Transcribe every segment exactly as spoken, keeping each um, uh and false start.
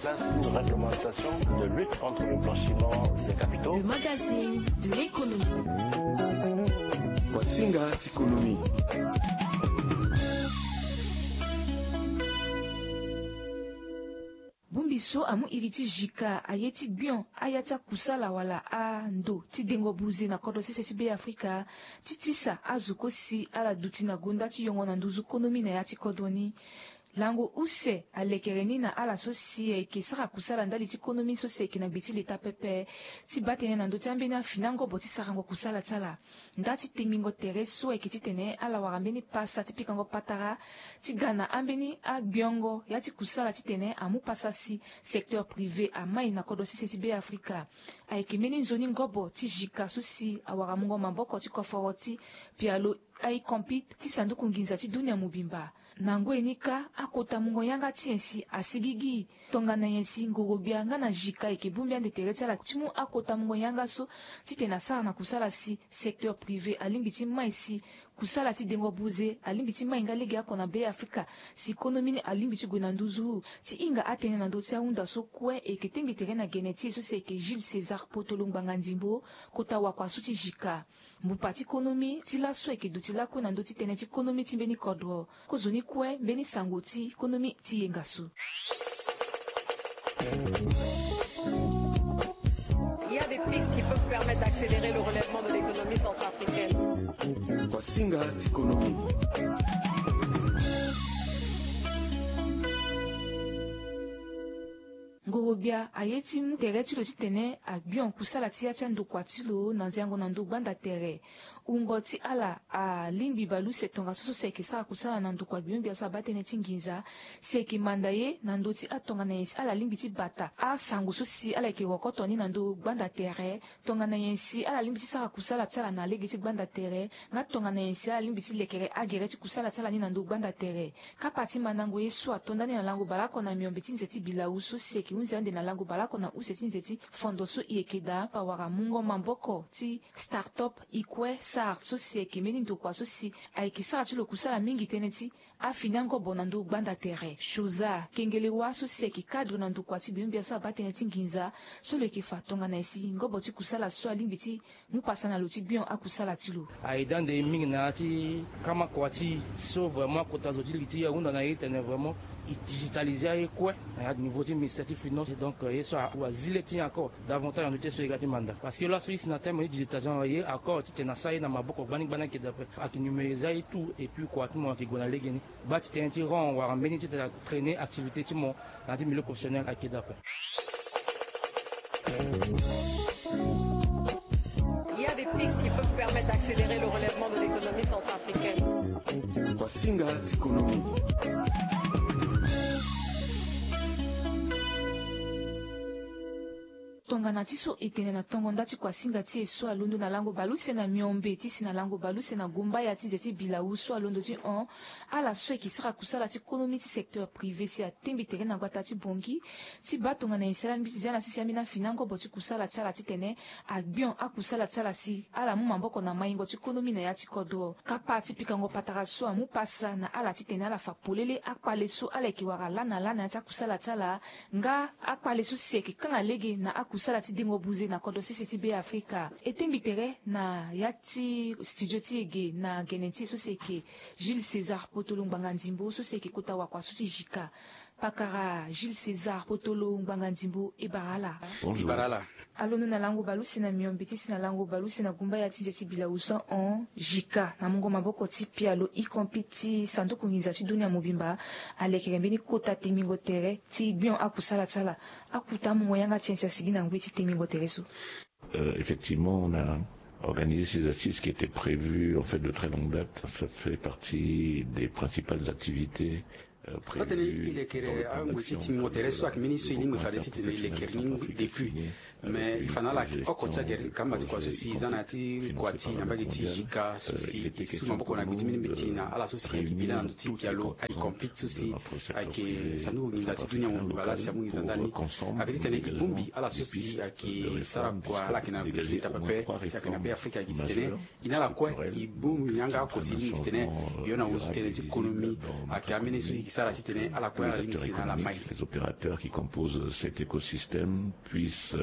Place une réglementation de lutte contre le blanchiment des capitaux. Le magazine de l'économie. Wasinga ti économie. Bongbi so amu iri ti jika aye ti gbion aya ti akusala wala ando ti dengo buze na kodro sese ti Be Afrika ti tisa azo kosi ala duti na gonda ti yongo na nduzu konomi na ya ti kodro ni. Lango use alekere ni na ala so si ayeke sara kusala ndali ti konomi so si ayeke na gbe ti leta pepe ti baa tënë na ndö ti ambeni afinangobo ti sarango kusala ti ala. Nda ti tengbingo tere so ayeke titene ala wara mbeni pasa ti pikango patara ti ga na ambeni agbiongo ya ti kusala titene amu pasa si secteur privé amai na kodro sese ti Be Afrika. Ayeke mbeni nzoni ngobo ti jika so si awara mungo maboko ti koforo ti pialo aikompi ti sanduku nginza ti dunia mobimba. Na ngoi ni kâ, akota mungo yanga ti nyen si asigigi? Tongana nyen si ngorogbia nga na jika ayeke bongbi ande tere ti ala ti mu akota mungo yanga so titene asara na kusala si secteur privé alingbi ti mai si kusala ti dengo buze alingbi ti mai nga lege oko na Be Afrika, si konomi ni alingbi ti gue na nduzu? Ti hinga atënë na ndö ti ahunda so kue, e yeke tengbi tere na gene ti e so si ayeke Jules César Potolo Ngbanga Ndimbo, kota wakua so ti jika. Mbupa ti konomi ti laso ayeke duti lakue na ndö ti tënë ti konomi ti mbeni kodro. Kozoni kue mbeni sango ti konomi ti yenga so. Il y a des pistes qui peuvent permettre d'accélérer le relèvement de l'économie centrafricaine. Wasinga ti konomi. Ngorogbia aye ti mu tere ti lo titene agbion kusala ti ya ti andokua ti lo na nziango na ndö gbanda tere. Wungo ti ala alingbi baleuse tongaso so si ayeke sara kusala na ndokua gbiongbia so abaa tënë ti nginza, si ayeke manda ye na ndö ti atongana nyen si ala lingbi ti bata asango so si ala yeke rokoto ni na ndö gbanda tere. Tongana nyen si ala lingbi ti sara kusala ti ala na lege ti gbanda tere, nga tongana nyen si ala lingbi ti lekere agere ti kusala ti ala ni na ndö gbanda tere. Kapa ti mandango ye so ato ndani na lango baleoko na miombe ti nze ti bilau so si ayeke hunzi ande na lango baleoko na use ti nze ti fondo so e yeke daa awara mungo maboko ti start-up ikue sart so si ayeke mbeni ndokua so si ayeke sara ti lo kusala mingi tënë ti afinangobo na ndö gbanda tere. Shoza Kengelewa so si ayeke cadre na ndokua ti gbiongbia so abaa tënë ti nginza so lo yeke fa tongana nyen si ngobo ti kusala so alingbi ti mu pasa na lo ti gbion akusala ti lo. Aye dande mingi na ya ti kamakua ti so vraiment akota zo ti li ti ahunda na ye tene vraiment e digitaliser aye kue na ya niveau ti ministère ti finance. Donc ye so azi le ti nyen encore davantage na ndö ti ye so e ga ti manda parce que laso e si na teme ti digitalisation na ye encore titene asara ye na maboko gbani gbani ayeke daa ape. Ayeke numériser aye tout et puis kua ti mo ayeke gue na legeni. Baa ti tënë ti rang wala mbeni titene atrainer activité ti mo na ya ti milieu professionnel ayeke daa ape. Il y a des pistes qui peuvent permettre d'accélérer le relèvement de l'économie centrafricaine. Wasinga ti konomi. Tongana ti so e tene na tongo nda ti kuasinga ti e so alondo na lango baleuse na miombe ti si na lango baleuse na gumbaya ti nze ti bilau so alondo ti hon. Ala so ayeke sara kusala ti konomi ti secteur privé si atengbi tere na gbata ti bongi ti baa tongana nyen si ala lingbi ti zia na sese ambeni afinangobo ti kusala ti ala titene agbion akusala ti ala si ala mu maboko na maingo ti konomi na ya ti kodro. Kapa ti pikango patara so amu pasa na ala titene ala fa polele akpale so ala yeke wara laa na laa na ya ti akusala ti ala. Nga akpale so si ayeke kanga lege na akusala ti dengo buze na kodro sese ti Be Afrika. E tengbi tere na ya ti studio ti e ge na gene ti e so si ayeke Jules César Potolo Ngbanga Ndimbo so si ayeke kota wakua so ti jika. Pakara Jules César Potolo Ngbanga Ndimbo, e bara ala. Bonjour. E bara ala. Alondo na lango baleuse na miombe ti si na lango baleuse na gumbaya ti nze ti bilau so hon jika na mungo maboko ti pialo ikompi ti sanduku nginza ti dunia mobimba. Alekere mbeni kota tengbingo tere ti gbion akusala ti ala. Akuta mungo yanga ti nyen si asigi na ngoi ti tengbingo tere so? Euh, effectivement, on a organisé ces assises qui étaient prévues en fait de très longue date. Ça fait partie des principales activités. Atene e lekere angoi ti tingo tere so ayeke mbeni so e lingbi fade titene e lekere ni depuis. Mais e fa na ala oko ti agere ti kamba ti kua so si e za na ya ti kua ti na mbage ti jika so si e su maboko na gbe ti mbeni mbeti na ala so si ayeke bi laa na ndö ti pialo aye compete so si ayeke sanduku nginza ti dunia mobimba laa si amu nginza ndani. Ayeke titene e bongbi ala so si ayeke sara kua ala yeke na gbe ti leta pepe si ayeke na Be Afrika ayeke titene e na ala kue e bongbi yanga oko si e lingbi titene e yo na wuzu tënë ti konomi. Ayeke ambeni so e sara titene ala kue ala lingbi titene ala mai. Les opérateurs qui composent cet écosystème puissent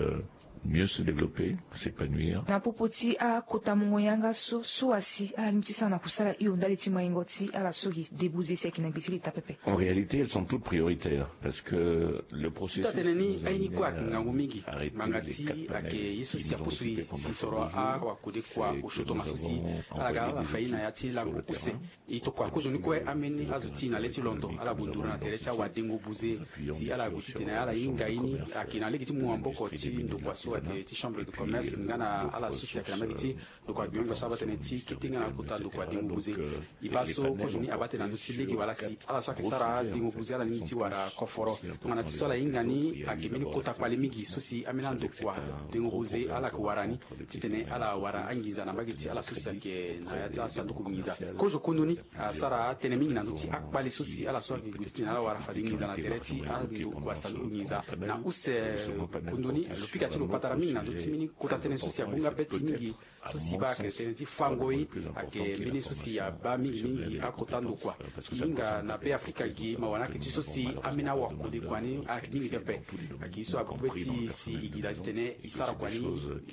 mieux se développer, s'épanouir. Na popo ti akota mungo yanga so so asi ala lingbi ti sara na kusala hio ndali ti maingo ti ala so gi débouze si ayeke na gbe ti leta pepe. En réalité, elles sont toutes prioritaires parce que le processus ti atene ni aye ni kue ayeke ngangu mingi. Ngbanga ti ayeke ye so si apusu e si soro awakode kua osio tongaso si ala ga ala fa ye na ya ti lango use. E tokua kozoni kue ambeni azo ti e na le ti londo ala gue nduru na tere ti awadengo buze si ala gue titene ala hinga ye ni ayeke na lege ti mu maboko ti ndokua so ayeke ti chambre de commerce nga na ala so si ayeke na mbage ti ndokua gbiongo so abaa tënë ti kete nga na kota ndokua dengo buze. E baa so kozoni abaa tënë na ndö ti lege wala si ala so ayeke sara dengo buze ala lingbi ti wara koforo. Tongana ti so ala hinga ni ayeke mbeni kota kpale mingi so si ambeni andokua dengo buze ala yeke wara ni titene ala wara anginza na mbage ti ala so si ayeke na ya ti asanduku nginza. Kozo kundoni asara tënë mingi na ndö ti akpale so si ala so ayeke gue titene ala wara fade nginza na tere ti andokua sanduku nginza. Na use kundoni lo pika ti lo patara mingi na ndö ti mbeni kota tënë so si abu nga beti mingi so si baa ayeke tënë ti fango ye. Ayeke mbeni so si abaa mingi mingi akota ndokua. E hinga na Be Afrika gi mawa ni ayeke ti so si ambeni awakode kua ni ayeke mingi pepe. Ayeke ye so abu beti si e gi daa titene e sara kua ni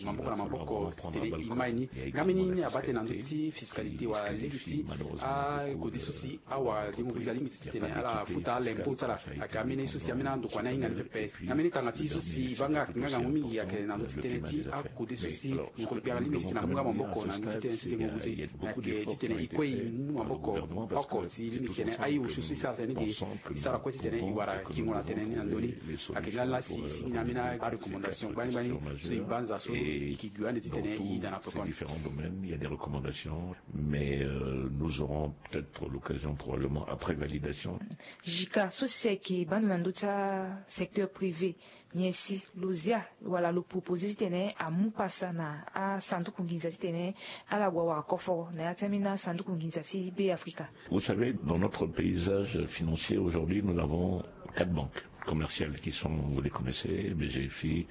maboko na maboko titene e mai ni. Nga mbeni ni abaa tënë na ndö ti fiscalité wala lege ti akode so si awadengo buze alingbi ti titene ala futa alempo ti ala. Ayeke ambeni so si ambeni andokua ni ahinga ni pepe. Nga mbeni tanga ti so si e baa nga ayeke nga ngangu mingi ayeke na ndö ti tënë ti akode so si ngoro gbia alingbi titene amu nga maboko na ndö ti tënë ti dengo buze. Ayeke titene e kue e mu maboko oko si e lingbi titene aye osio so e sara tënë ni ge e sara kue titene e wara kingo na tënë ni na ndö ni. Ayeke nga laa si e sigi na ambeni arecommandation gbani gbani so e banza so e yeke gue ande titene e yeda na pekoni. Mais nous aurons peut-être l'occasion probablement après validation. Jika so si ayeke baa ndo na ndö ti asecteur privé nyen si lo zia wala lo proposer titene amu pasa na asanduku nginza titene ala gue awara koforo na ya ti ambeni asanduku nginza ti Be Afrika. Vous savez, dans notre paysage financier aujourd'hui, nous avons quatre banques commerciales qui sont, vous les connaissez, B G F I,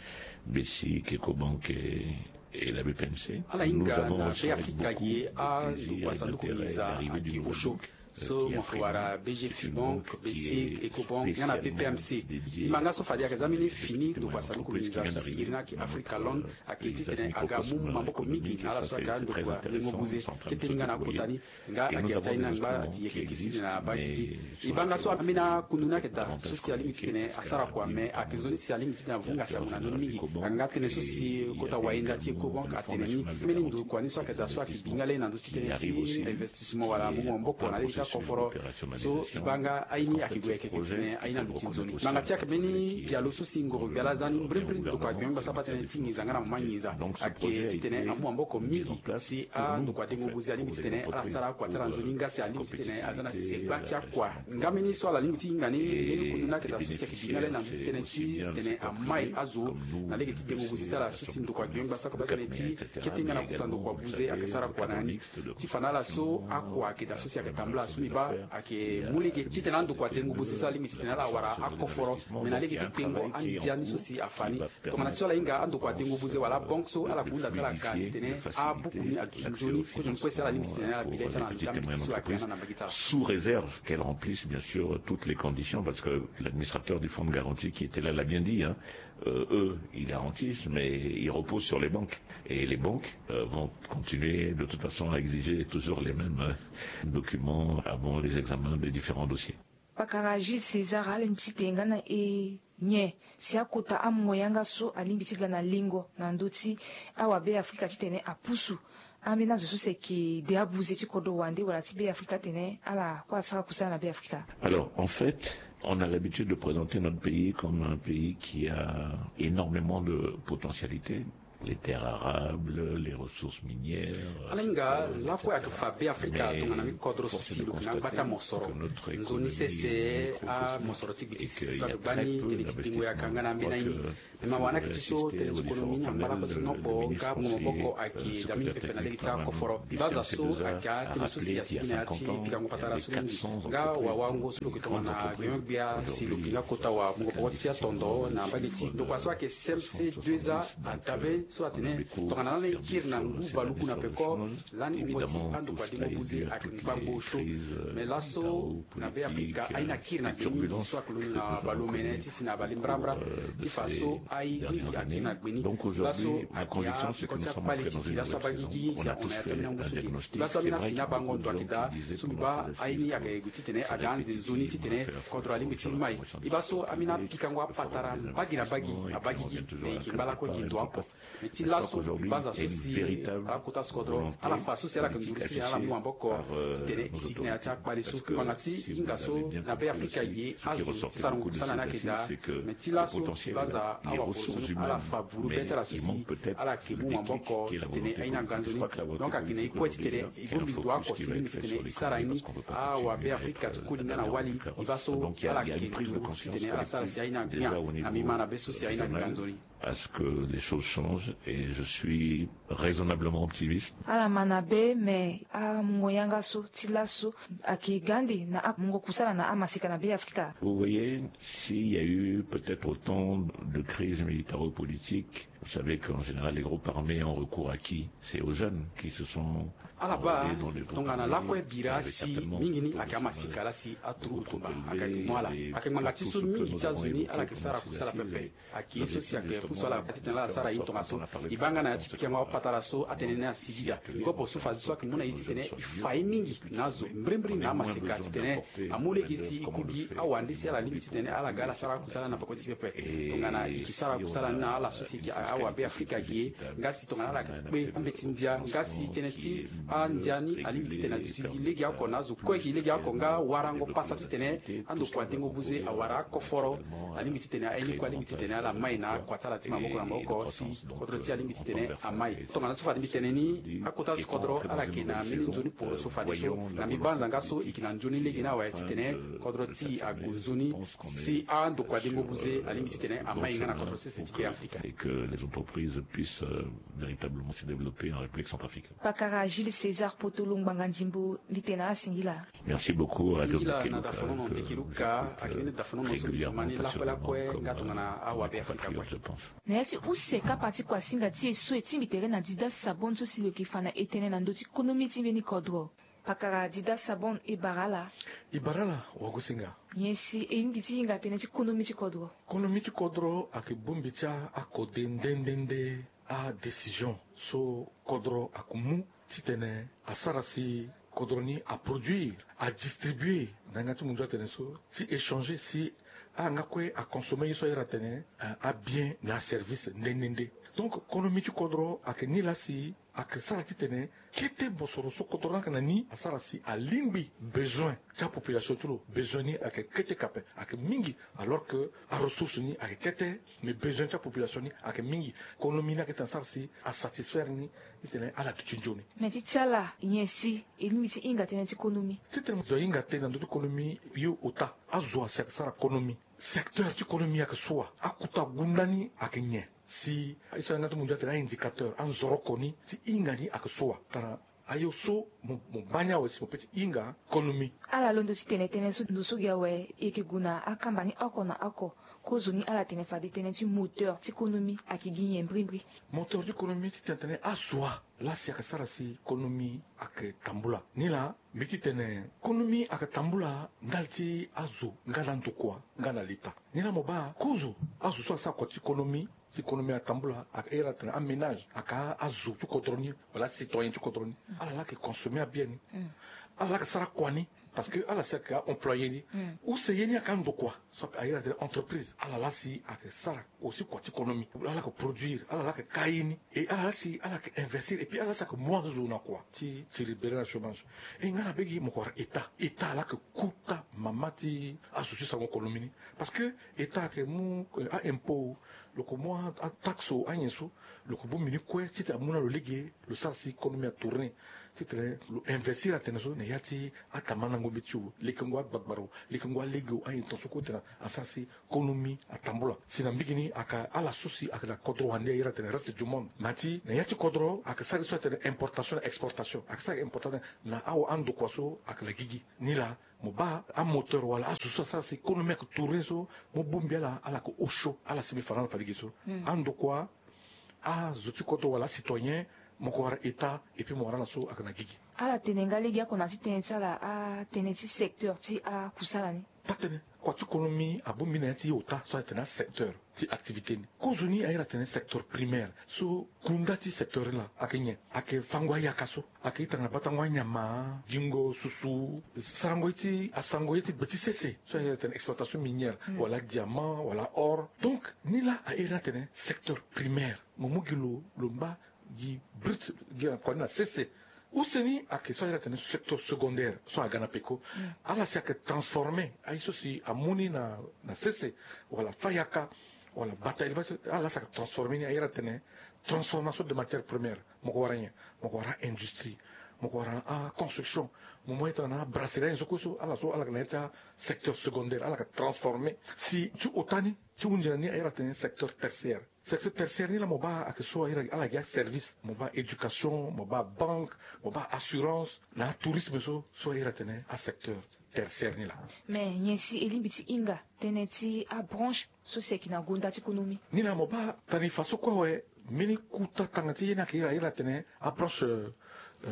B C I C, Ecobank et, et la B P M C. Ala hinga na Be Afrika gi andokua sanduku nginza ayeke osio. So mo yeke wara B G F I Bank, B C I C, Ecobank nga na B P M C. E ma nga so fade ayeke za mbeni fini ndokua sanduku nginza so si iri ni ayeke Africa Loan ayeke titene aga mu maboko mingi na ala so ayeke andokua dengo buze. Kete ni nga na kota ni nga ayeke ya ti aye ni angba ti yeke yeke sini na baa gigi. E baa nga so ambeni akundu ni ayeke daa so si alingbi titene asara kua me ayeke nzoni si alingbi titene avunga sango na ndö ni mingi. Nga tënë so si kota wayenda ti Ecobank atene ni mbeni ndokua ni so ayeke daa so ayeke bi nga lani na ndö ti tënë ti investissement wala mu maboko na lege ti akoforo. So e baa nga aye ni ayeke gue ayeke titene aye ni alondo ti nzoni. Ngbanga ti ayeke mbeni pialo so si ngoro gbia laa aza ni mbrimbri ndokua gbia mingba so abaa tënë ti nginza nga na mama nginza ayeke titene amu maboko mingi si andokua dengo buze alingbi titene ala sara akua ti ala nzoni nga si alingbi titene aza na segba ti akua. Nga mbeni so ala lingbi ti hinga ni mbeni kundu ni ayeke daa so si ayeke bi nga lani na ndö ti tënë ti titene amai azo na lege ti dengo buze ti ala so si ndokua gbia mingba so ayeke baa tënë ti kete nga na kota ndokua buze ayeke sara kua na ni. Ti fa na ala so akua ayeke daa so si ayeke tambula so mbi baa ayeke mu lege titene andokua dengo buze so alingbi titene ala wara akoforo me na lege ti tengo andia ni so si afa ni. Tongana ti so ala hinga andokua dengo buze wala abanke so ala hunda ti ala ka titene abuku ni aduti nzoni kozoni kue si ala lingbi titene ala bi le ti ala na ndö ti ambeti so ayeke na na mbage ti ala. Sous réserve qu'elle remplisse bien sûr toutes les conditions, parce que l'administrateur du fonds de garantie qui était là l'a bien dit, hein, euh, eux, ils garantissent, mais ils reposent sur les banques. Et les banques euh, vont continuer de toute façon à exiger toujours les mêmes euh, documents avant les examens des différents dossiers. Pakara Gilles César alingbi ti tene nga na e nyen si akota amungo yanga so alingbi ti ga na lingo na ndö ti awa Be Afrika titene apusu ambeni azo so si ayeke de abuze ti kodro wande wala ti Be Afrika atene ala kue asara kusala na Be Afrika. Alors en fait, on a l'habitude de présenter notre pays comme un pays qui a énormément de potentialités, les terres arables, les ressources minières. Ala hinga lakue ayeke fa Be Afrika tongana mbi kodro so si lo yeke na gba ti amosoro. Nzoni sese amosoro ti gbe ti sese so ayeke gbani tënë ti bingo yaka nga na ambeni aye ni. Me mawa ni ayeke ti so tënë ti konomi ni angba lakue ti noko nga mungo maboko ayeke daa mingi pepe na lege ti akoforo. Baza so ayeke atënë so si asigi na ya ti pikango patara so mingi nga wawango so lo yeke tongana gbiongbia si lo yeke nga kota wa mungo poko ti atondo na mbage ti ndokua so ayeke C M C deux A adabe. So atene tongana lani e kiri na ngu baluku na peko, lani wungo ti andokua dengo buze ayeke ngbangbo osio. Mais laso na Be Afrika aye ni akiri na gbe mingi so ayeke londo na balomene ti si na balembrambra ti fa so aye mingi akiri na gbe ni. Laso ayeke akua ti akpale ti gi laso abagigi si ahon na ya ti ambeni angu so gi laso ambeni afini abango ndo ayeke daa. So mbi baa aye ni ayeke gue titene aga ande nzoni titene kodro alingbi ti mai. E baa so ambeni apikango apatara mbagi na mbagi abagigi. Me e yeke ngba lakue gi ndo oko. Me ti laso mbi banza so si akota so kodro ala fa so si ala yeke nduru titene ala mu maboko titene e sigi na ya ti akpale so ngbanga ti hinga so na Be Afrika ye azo ti sarango kusala ni ayeke daa. Me ti laso mbi banza awakoro so ala fa vuru be ti ala so si ala yeke mu maboko titene aye ni aga nzoni. Donc ayeke na e kue titene e bongbi ndo oko si lingbi titene e sara ni. Awa Be Afrika ti koli nga na wali e baa so ala yeke nduru titene ala sara si aye ni angbia na mbi ma na be so si aye ni aga nzoni. À ce que les choses changent et je suis raisonnablement optimiste. Ala ma na be, mais amungo yanga so ti laso ayeke ga ande na amungo kusala na amaseka na Be Afrika. Vous voyez, s'il y a eu peut-être autant de crises militaro-politiques, vous savez qu'en général, les groupes armés ont recours à qui? C'est aux jeunes qui se sont... Ala baa tongana lakue bira si mingi ni ayeke amaseka laa si aturugu tumba ayeke mo ala ayeke ngbanga ti so mingi ti azo ni ala yeke sara kusala pepe. Ayeke ye so si ayeke pusu ala titene ala sara ye tongaso. E baa nga na ya ti pikango apatara so atene ni asidida kopo so fadeso ayeke mu na e titene e fa ye mingi na azo mbrimbri na amaseka titene amu lege si e ku gi awande si ala lingbi titene ala ga ala sara akusala na peko ti pepe. Tongana e yeke sara akusala ni na ala so si e yeke awa Be Afrika gi ye nga si tongana ala yeke kpe ambeti ndia nga si tënë ti andia ni alingbi titene aduti gi legeoko na azo kue gi legeoko nga warango pasa titene andokua dengo buze awara akoforo. Alingbi titene aye ni kue alingbi titene ala mai na akua ti ala ti maboko na maboko si kodro ti e alingbi titene amai. Tongana so fade mbi tene ni akota so kodro ala yeke na mbeni nzoni poro so fadeso na mbi banza nga so e yeke na nzoni lege ni awe titene kodro ti e ague nzoni si andokua dengo buze alingbi titene amai nga na kodro sese ti Be Afrika. Et que les entreprises puissent, euh, véritablement se développer en République centrafricaine. Pakara Jules César Potolo, ngbanga ndimbo, mbi tene asingila. Merci beaucoup, Radio Singila na Bekeluka, dafonono euh, Bekeluka, euh, akini dafonono so mbi tuma ni régulièrement, lakue lakue, passionnellement, nga comme tongana awa Be Afrika kue. Je pense. Na ya ti use kapa ti kuasinga ti e so e tingbi tere na Dida Sabon so si lo yeke fa na e tënë na ndö ti konomi ti mbeni kodro. Pakara Dida Sabon, e bara ala. E bara ala wagosinga. Nyen si e lingbi ti hinga tënë ti konomi ti kodro? Konomi ti kodro ayeke bongbi ti akode nde nde nde adécision so kodro ayeke mu titene asara si kodro ni aproduire, adistribue na yanga ti munzu atene so, ti échanger si ala nga kue aconsommer ye so ayere atene, eh, abien na aservice nde nde nde. Donc konomi ti kodro ayeke ni laa si ayeke sara titene kete mosoro so kodro ni ayeke na ni asara si alingbi besoin ti apopulation ti lo. Besoin ni ayeke kete kape, ayeke mingi, alors que aressource ni ayeke kete, mais besoin ti apopulation ni ayeke mingi. Konomi ni ayeke tene asara si asatisfaire ni titene ala duti nzoni. Mais ti ti ala nyen si e lingbi ti hinga tënë ti konomi? Titene mo zo ahinga tënë na ndö ti konomi, yo ota azo asi ayeke sara konomi. Secteur ti konomi ayeke sua, akota gunda ni ayeke nyen? Si e so na yanga ti munzu atene a-indicateur, anzoroko ni ti hinga ni ayeke sua. Tara ayo so mo, mo baa ni awe si mo peut ti hinga konomi. Ala londo ti tene tënë so ndo so gi awe, e yeke gue na akamba ni oko na oko. Kozo ni ala tene fade tënë ti moteur ti konomi ayeke gi nyen mbrimbri? Moteur ti konomi ti tene tënë azo wa laa si ayeke sara si konomi ayeke tambula. Ni laa mbi ti tene konomi ayeke tambula ndali ti azo nga na ndokua nga na leta. Ni laa mo baa kozo azo so asara kua ti konomi, si konomi atambula, ayeke iri atene aménage, aka azo ti kodro ni wala acitoyen ti kodro ni. Ala laa ayeke consommer abien ni. Ala laa ayeke sara kua ni. Parce que ala si ayeke a-employé ni. Use ye ni ayeke andokua. So ayeke iri atene entreprise. Ala laa si ayeke sara aussi kua ti konomi. Ala laa ayeke produire, ala laa ayeke ka ye ni. Et ala laa si ala yeke investir et puis ala laa si ayeke mu azo na kua ti tiri bere na chômage. Et nga na be gi mo ko wara état. État ala yeke kota mama ti azo ti sarango konomi ni. Parce que état ayeke mu, eh, a-impôt, lo yeke mu a, ataxe, anyen so, lo yeke bongbi ni kue titene amu na lo lege, lo sara si konomi atourner. Titene lo investir atene so na ya ti atamandango mbeti o, lekengo agbagbara o, lekengo alege o, anyen ton so kue tene asara si konomi atambula. Si na mbage ni ayeke ala so si ayeke na kodro wande aye atene reste du monde. Na ti na ya ti kodro ayeke sara ye so atene importation na exportation. Ayeke sara importation na awa andokua so ayeke na gigi. Ni laa mo baa amoteur wala azo so asara si konomi ayeke tourner so, mo bongbi ala, ala yeke osio, ala si mbi fa na ala fa lege so. Andokua azo ti kodro wala acitoyen, mo ko wara état, et puis mo wara ala so ayeke na gigi. Ala tene nga lege oko na ti tënë ti ala atënë ti secteur ti akusala ni. Taa-tënë, kua ti konomi abongbi na ya ti ota so atene asecteur ti activité ni. Kozoni airi atene secteur primaire so kunda ti secteur ni laa ayeke nyen? Ayeke fango ayaka so ayeke itanga na batango anyama, gingo susu, sarango ye ti asango ye ti gbe ti sese so airi atene exploitation minière, wala diamant wala or. Donc ni laa airi atene secteur primaire, mo mu gi lo lo ngba gi brut, gi na kua ni na sese. Use ni ayeke so airi atene secteur secondaire so aga na peko. Ala si ayeke transformer aye so si amu ni na na sese, wala fa yaka, wala bata élevage, ala si ayeke transformer ni, airi atene transformation de matière première. Mo ko wara nyen? Mo ko wara industrie, mo ko wara aconstruction, mo mu aye tongana abrasserie, aye so kue so ala so ala yeke na ya ti asecteur secondaire, ala yeke transformer. Si ti ota ni ti hunzi na ni airi atene secteur tertiaire. Secteur tertiaire ni laa mo baa ayeke so airi ala gi aservice, mo baa éducation, mo baa banque, mo baa assurance, na atourisme so so airi atene asecteur tertiaire ni laa. Mais nyen si e lingbi ti hinga tënë ti abranche so si ayeke na gonda ti konomi? Ni laa mo baa tani faso kue awe. Mbeni kuta tanga ti ye ni ayeke iri airi atene abranche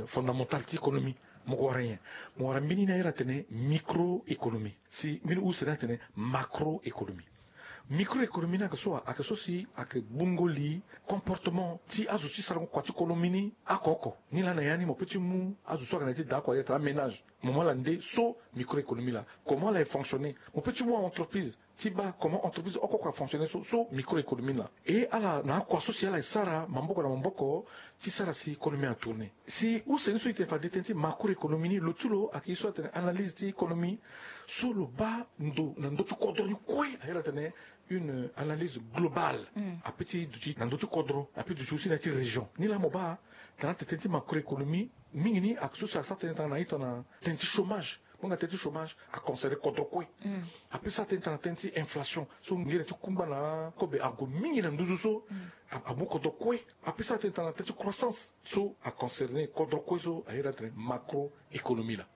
fondamentale ti konomi. Mo ko wara nyen? Mo wara mbeni ni airi atene micro-économie. Si mbeni use ni atene macro-économie. Micro-économie ni ayeke so wa? Ayeke so si ayeke gbungo li comportement ti azo ti sarango kua ti konomi ni oko oko. Ni laa na ya ni mo pe ti mu azo so ayeke na ya ti da oko aye tara aménage. Mo mu ala nde so micro-économie laa, comment ala e fonctionner. Mo pe ti mu a-entreprise ti baa comment entreprise oko oko afonctionner so so micro-économie laa. E ala na akua so si ala e sara maboko na maboko ti sara si konomi atourner. Si use ni so e tene fade tënë ti macro-économie ni, lo ti lo ayeke ye so atene analyse ti économie so lo baa ndo na ndö ti kodro ni kue, airi atene une analyse globale. Ape ti duti na ndö ti kodro, ape duti aussi na ya ti région. Ni laa mo baa tana tene tënë ti macro-économie mingi ni ayeke so si asara tënë tanga na ita na tënë ti chômage. Mo hinga tënë ti chômage aconcerner kodro kue. Ape sara tënë tanga na tënë ti inflation so ngere ti kungba na akobe ague mingi na nduzu so amu kodro kue. Ape sara tënë tanga na tënë ti croissance so aconcerner kodro kue so airi atene macro-économie laa.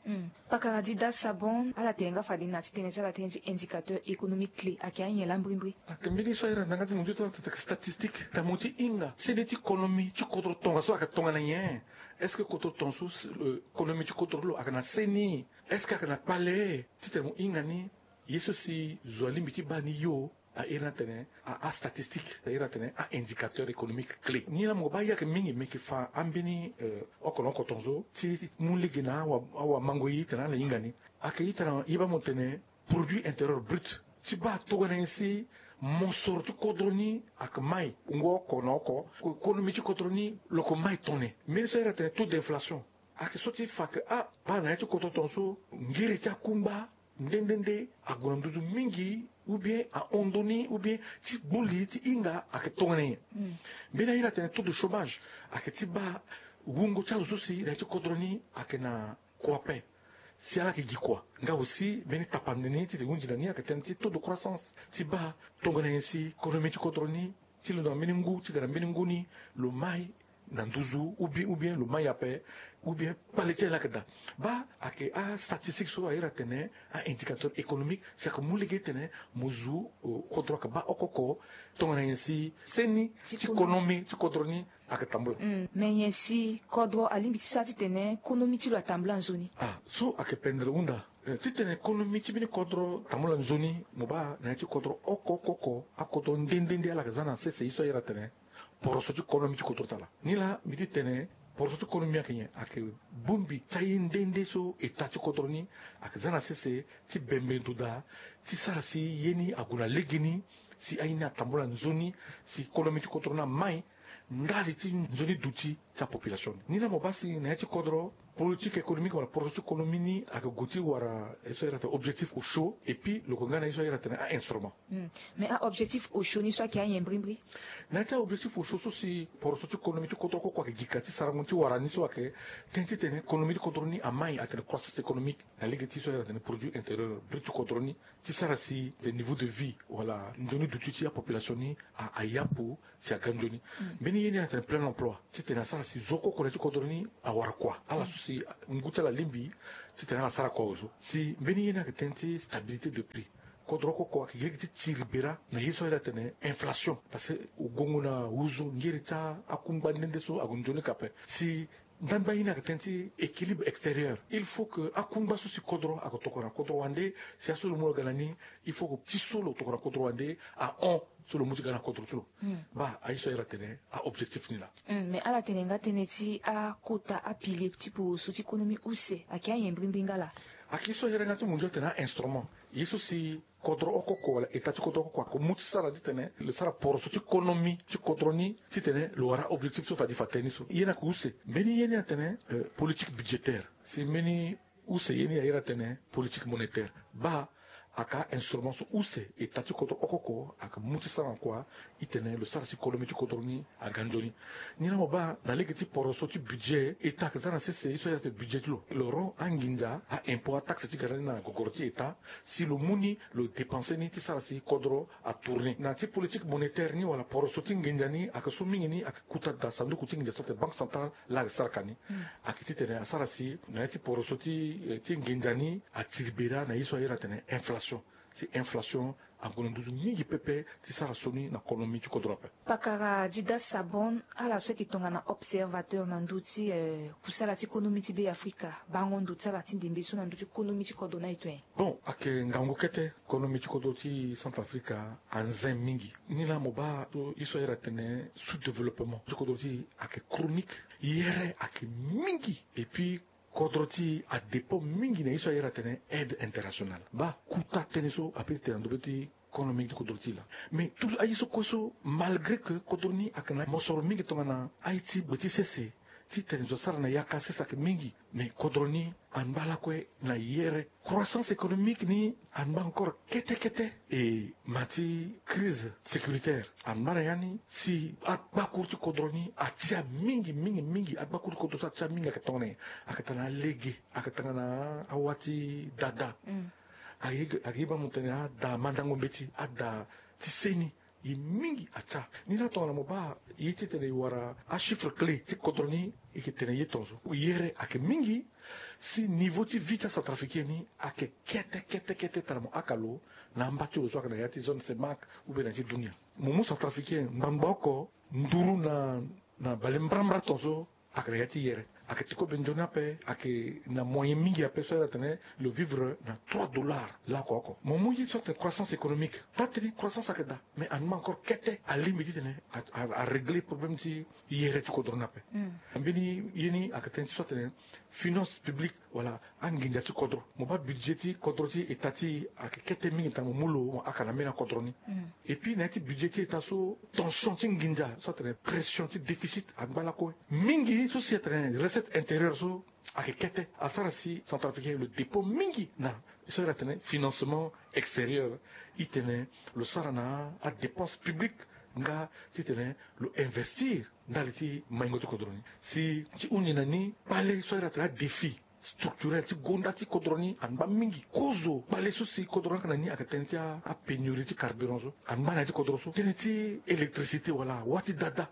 Pakara Dida Sabon, ala tene nga fade na ti tënë ti ala tënë ti indicateur économique clé ayeke anyen laa mbrimbri? Ayeke mbeni so airi atene na nga ti mo ndio ti ala tene ayeke statistique. Tene mo ti hinga seni ti konomi ti kodro tongaso ayeke tongana nyen? Est-ce que kodro tongaso, konomi ti kodro ti lo ayeke na seni? Est-ce que ayeke na kpale? Titene mo hinga ni ye so si zo alingbi ti baa ni yo, airi atene a-statistique, airi atene a-indicateur économique clé. Ni laa mo baa ye ayeke mingi, me yeke fa ambeni oko na oko tongaso ti mu lege na awa, awamango ye titene ala hinga ni. Ayeke itene ye baa mo tene produit intérieur brut. Ti baa tongana nyen si mosoro ti kodro ni ayeke mai, ngu oko na oko, konomi ti kodro ni lo yeke mai tone. Mbeni so airi atene taux d'inflation. Ayeke so ti fa ke a baa na ya ti kodro tongaso ngiri ti akungba nde nde nde ague na nduzu mingi, ou bien ahon ndoni, ou bien ti gbu li ti hinga ayeke tongana nyen. Mbeni airi atene taux de chômage ayeke ti baa wungo ti azo so si na ya ti kodro ni ayeke na kua ape. Si ala yeke gi kua nga aussi mbeni tapande ni titene e hunzi na ni ayeke tënë ti taux de croissance. Ti baa tongana nyen si konomi ti kodro ni ti londo na mbeni ngu ti ga na mbeni ngu ni lo mai na nduzu ou bien, ou bien lo mai ape, ou bien kpale ti ala ayeke daa. Baa ayeke a-statistique so airi atene a-indicateur économique si ayeke mu lege titene mo zu kodro ayeke baa oko oko tongana nyen si seni ti konomi ti kodro ni ayeke tambula. Me nyen si kodro alingbi ti sara titene konomi ti lo atambula nzoni? Ah, so ayeke pendere hunda. Eh, titene konomi ti mbeni kodro tambula nzoni, mo baa na ya ti kodro oko oko oko, akodro nde nde nde ala yeke za na sese ye so airi atene poroso ti konomi ti kodro ti ala. Nilaa mbi ti tene poroso ti konomi ayeke nyen? Ayeke bongbi ti aye nde nde so eta ti kodro ni ayeke za na sese ti bembe ndo daa ti sara si ye ni ague na legeni, si aye ni atambula nzoni, si konomi ti kodro ni amai ndali ti nzoni duti ti apopulation ni. Nilaa mo baa si na ya ti kodro politique économique wala poroso ti konomi ni ayeke gue ti wara ye so airi atene objectif osio, et puis lo yeke nga na ye so airi atene a-instrument. Mais a-objectif osio ni so ayeke anyen mbrimbri? Na ya ti a-objectif osio so si poroso ti konomi ti kodro oko oko ayeke gi ka ti sarango ni ti wara ni so ayeke tënë titene konomi ti kodro ni amai atene croissance économique na lege ti so airi atene produit intérieur brut ti kodro ni, ti sara si niveau de vie wala nzoni duti ti apopulation ni a, ayapu si aga nzoni. Mbeni ye ni atene plein emploi, titene asara si zo oko oko na ya ti kodro ni awara kua. Ala so si ngu ti ala alingbi titene ala sara kua ozo. Si mbeni ye ni ayeke tënë ti stabilité de prix. kodro oko oko ayeke gi lege ti tiri bera na ye so ayeke atene inflation. Parce que ogongo na uzu ngeri ti akungba nde nde so ague nzoni ka ape. Si ndangba ye ni ayeke tënë ti équilibre extérieur. Il faut que akungba so si kodro ayeke tokua na kodro wande, si aso lo mu lo ga na ni, il faut que ti so lo tokua na kodro wande ahon so lo mu ti ga na kodro ti lo. Baa aye so ayeke atene a-objectif ni laa. Mais ala tene nga tënë ti akota apilier ti poroso ti konomi use ayeke ayen mbirimbiri nga laa. Ayeke ye so ayeke nga ti munzu atene a-instrument. Ye so si kodro oko oko wala état ti kodro oko oko ayeke mu ti sara titene lo sara poroso ti konomi ti kodro ni titene lo wara a-objectif so fade fa tënë ni so. Ye ni ayeke use. Mbeni ye ni atene politique budgétaire. Si mbeni use ye ni ayeke atene politique monétaire. Baa ayeke a-instrument so use état ti kodro oko oko ayeke mu ti sara na kua, itene lo sara si konomi ti kodro ni aga nzoni. Ni laa mo baa na lege ti poroso ti budget, état ayeke za na sese ye so ayeke atene budget ti lo. Lo rend anginza, a-impôt, ataxe ti ga na ni na gogoro ti état. Si lo mu ni, lo dépenser ni ti sara si kodro atourner. Na ti politique monétaire ni wala poroso ti nginza ni, ayeke so mingi ni ayeke kuta daa sanduku ti nginza so atene banque centrale, laa ayeke sara ka ni. Ayeke titene asara si na ya ti poroso ti, eh, ti nginza ni atiri bera na ye so ayeke atene inflation. Si inflation ague na nduzu mingi pepe ti sara sioni na konomi ti kodro ape. Pakara Dida Sabon, ala so ayeke tongana observateur na ndö ti, eh, kusala ti konomi ti Be Afrika, bango ndo ti ala ti ndembe so na ndö ti konomi ti kodro ni aye tongana nyen? Bon, ayeke ngangu kete. Konomi ti kodro ti Centrafrique anze mingi. Ni laa mo baa so ye so ayeke atene sous-développement ti kodro ti e ayeke chronique. Yere ayeke mingi. Et puis kodro ti e adépend mingi na ye so ayeke atene aide internationale. Baa kuta tënë so ape ti tene na ndö be ti konomi ti kodro ti e laa. Mais tout aye so kue so, malgré que kodro ni ayeke na mosoro mingi tongana aye ti gbe ti sese, titene zo asara na yaka sese ayeke mingi. Mais kodro ni angba lakue na yere. Croissance économique ni angba encore kete kete. E ma ti crise sécuritaire angba na ya ni si agbakuru ti kodro ni atia mingi mingi mingi. Agbakuru ti kodro so atia mingi ayeke tongana nyen? Ayeke tongana alege, ayeke tongana awa ti dada. Ayeke, ayeke ye baa mo tene ada mandango mbeti, ada ti seni. E mingi atia. Ni laa tongana mo baa ye titene e wara achiffre clé ti kodro ni, e yeke tene ye tongaso. Yere ayeke mingi. Si niveau ti vie ti acentrafricain ni ayeke kete kete kete tara mo aka lo na amba ti lo so ayeke na ya ti zone CEMAC ou bien na ya ti dunia. Mo mu centrafricain ngbangba oko nduru na, na bale mbrambra tongaso ayeke na ya ti yere. Ayeke ti kobe nzoni ape, ayeke na moyen mingi ape so ayeke atene lo vivre na trois dollars laoko oko. Mo mu ye so atene croissance économique. Taa tënë croissance ayeke daa, mais angba encore kete alingbi titene a, a, arégler problème ti yere ti kodro ni ape. Mbeni ye ni ayeke tënë ti so atene finance publique, wala anginza ti kodro. Mo baa budget ti kodro ti état ti e ayeke kete mingi tongana mo mu lo mo aka na mbeni akodro ni. Et puis na ya ti budget ti état so, tension ti nginza so atene pression ti déficit angba lakue. Mingi so si atene recette intérieure so ayeke kete, asara si centrafricain lo dépend mingi na so ayeke atene financement extérieur. Itene lo sara na adépense publique nga titene lo investir ndali ti maingo ti kodro ni. Si ti hunzi na ni kpale so ayeke atene adéfi structurel ti gonda ti kodro ni angba mingi. Kozo kpale so si kodro ni ayeke na ni ayeke tënë ti apénurie ti carburant so angba na ya ti kodro so. Tënë ti électricité wala wa ti dada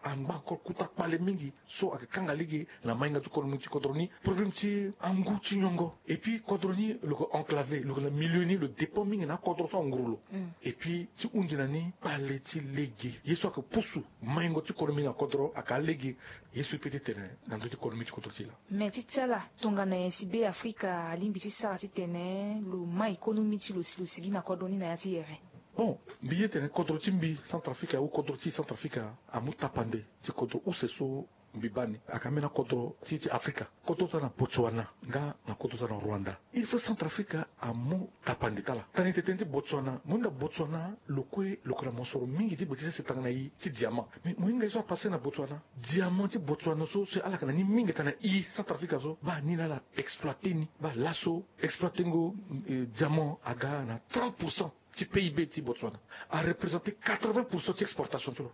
angba encore kuta kpale mingi so ayeke kanga lege na maingo ti konomi ti kodro ni. Problème ti angu ti nyongo. Et puis kodro ni lo yeke enclavé, lo yeke na milieu ni, lo dépend mingi na akodro so anguru lo. Et puis ti hunzi na ni kpale ti lege, ye so ayeke pusu maingo ti konomi na kodro ayeke alege. Ye so e peut ti tene na ndö ti konomi ti kodro ti e laa. Me ti ti ala, tongana nyen si Be Afrika alingbi ti sara titene lo ma économie ti lo si lo sigi na kodro ni na ya ti yere? Bon, mbi ye tene kodro ti mbi Centrafrique ou kodro ti Centrafrique amu tapande ti kodro use so mbi baa ni. Ayeke ambeni akodro ti e ti Afrika. Kodro ti ala na Botswana nga na kodro ti ala na Rwanda. Il faut Centrafrique amu tapande ti ala. Tënë ti tënë ti Botswana, mo hinga Botswana lo kue lo yeke na mosoro mingi ti gbe ti sese tongana e ti diamant. Mais mo hinga ye so apasé na Botswana. Diamant ti Botswana so, so ala yeke na ni mingi tongana e Centrafrique so, baa ni laa ala exploité ni. Baa laso exploité ngo, eh, diamant aga na trente pour cent ti P I B ti Botswana. Arepresenté quatre-vingts pour cent ti exportation ti lo.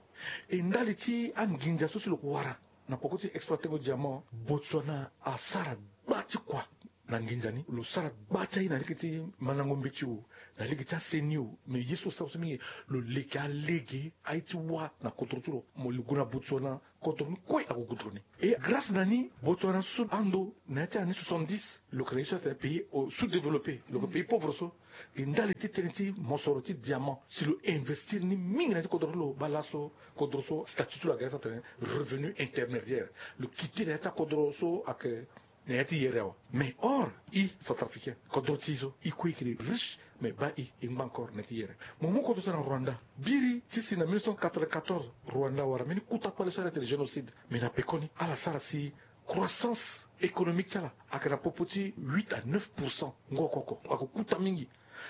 E ndali ti anginza so si lo yeke wara na poko ti exploité ngo diamant, Botswana asara gba ti kua. na nginza ni lo sara gba ti aye na lege ti mandango mbeti o, na lege ti aseni o. Mais ye so lo sara so mingi lo leke alege aye ti wâ na kodro ti lo. Mo lo gue na Botswana, kodro ni kue ague goudronné. Et grâce na ni Botswana so ando na ya ti année soixante-dix lo yeke na ye so atene pays sous-développé, lo yeke pays pauvre so. Gi ndali ti tënë ti mosoro ti diamant si lo investir ni mingi na ya ti kodro ti lo baa laso. Kodro so statut ti lo aga ye so atene revenu intermédiaire. Lo kiti na ya ti akodro so ayeke na ya ti yere awe. Mais or i centrafricain, kodro ti i so i kue i yeke riche, mais baa i i ngba encore na ya ti yere. Mo mu kodro so na Rwanda. Biri ti si na mille neuf cent quatre-vingt-quatorze Rwanda awara mbeni kuta kpale so ala tene génocide. Mais na pekoni ala sara si croissance économique ti ala ayeke na popo ti huit à neuf pour cent. Ngo oko oko ayeke kuta mingi.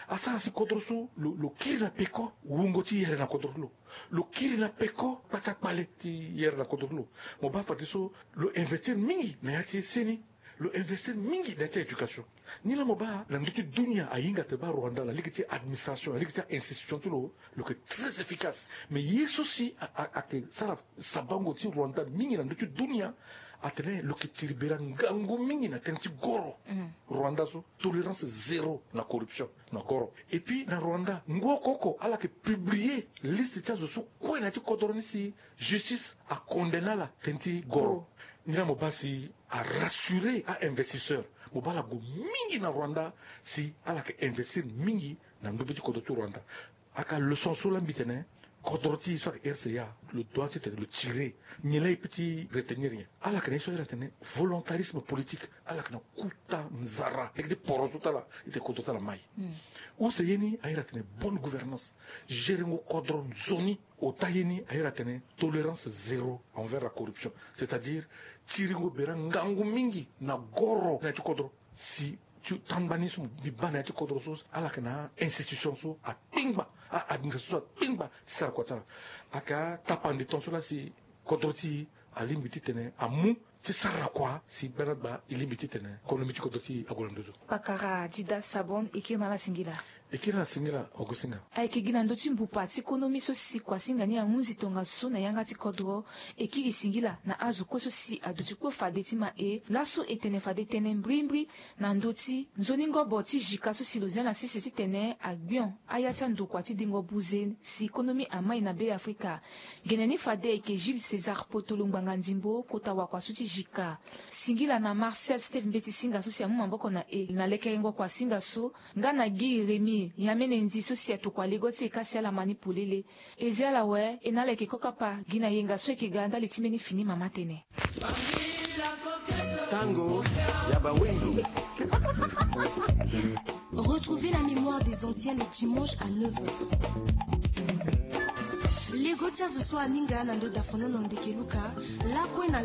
Asara si kodro so lo, lo kiri na peko wungo ti yere na kodro ti lo. Lo kiri na peko kpati akpale ti yere na kodro ti lo. Mo baa fadeso lo investir mingi na ya ti seni. Lo investir mingi na ya ti éducation. Ni laa mo baa na ndö ti dunia ahinga atene baa Rwanda na lege ti administration, na lege ti a-institution ti lo, lo yeke très efficace. Mais ye so si a, a, ayeke sara sabango ti Rwanda mingi na ndö ti dunia atene lo yeke tiri bera ngangu mingi na tënë ti goro. Rwanda so tolérance zéro na corruption na goro. Et puis na Rwanda ngo oko oko ala yeke publier liste ti azo so kue na ya ti kodro ni si justice acondamné ala tënë ti goro. Ni laa mo baa si arassurer a-investisseur. Mo baa ala gue mingi na Rwanda si ala yeke investir mingi na ndö be ti kodro ti Rwanda. Aka leçon so laa mbi tene kodro ti e so ayeke R C A lo doit ti tene lo tire. Nyen laa e peut ti retenir nyen? Ala yeke na ye so ayeke tene volontarisme politique. Ala yeke na kuta nzara lege ti poro so ti ala. E tene kodro ti ala mai. Use ye ni ayeke tene bonne gouvernance, gérengo kodro nzoni. Ota ye ni ayeke tene tolérance zéro envers la corruption, c'est-à-dire tiringo bera ngangu mingi na goro na ya ti kodro. Si ti tangba ni so mbi baa na ya ti kodro so ala yeke na a-institution so akpengba, a-administration so akpengba ti sara kua ti ala. Ayeke atapande ton so laa si kodro ti e alingbi ti tene amu ti sara kua si gbanda gba e lingbi ti tene konomi ti kodro ti e ague na nduzu. Pakara Dida Sabon, e kiri na ala singila. E kiri na ala singila. Augustin Nga. Ayeke gi na ndö ti mbupa ti konomi so si kuasinga ni ahunzi tongaso na yanga ti kodro. E kiri singila na azo kue so si aduti kue fade ti ma e laso e tene fade tënë mbrimbri na ndö ti nzoni ngobo ti jika so si lo zia na sese titene agbion aya ti andokua ti dingo buze si konomi amai na Be Afrika. Gene ni fade ayeke Jules César Potolo ngbanga ndimbo kota wakua so ti jika. Singila na Marcel Steve Mbeti Singa so si amu maboko na e na lekerengo kuasinga so nga na Guy Rémy Yamene Ndi so si atokua lego ti e ka si ala ma ni polele. E zi ala awe, e na ala yeke kokapa gi na yenga so e yeke ga ndali ti mbeni fini mama tene. Tango ya bawindu. Retrouvez la mémoire des anciens le dimanche à neuf heures. Lego ti azo so aninga na ndo dafonono ndeke luka lakue na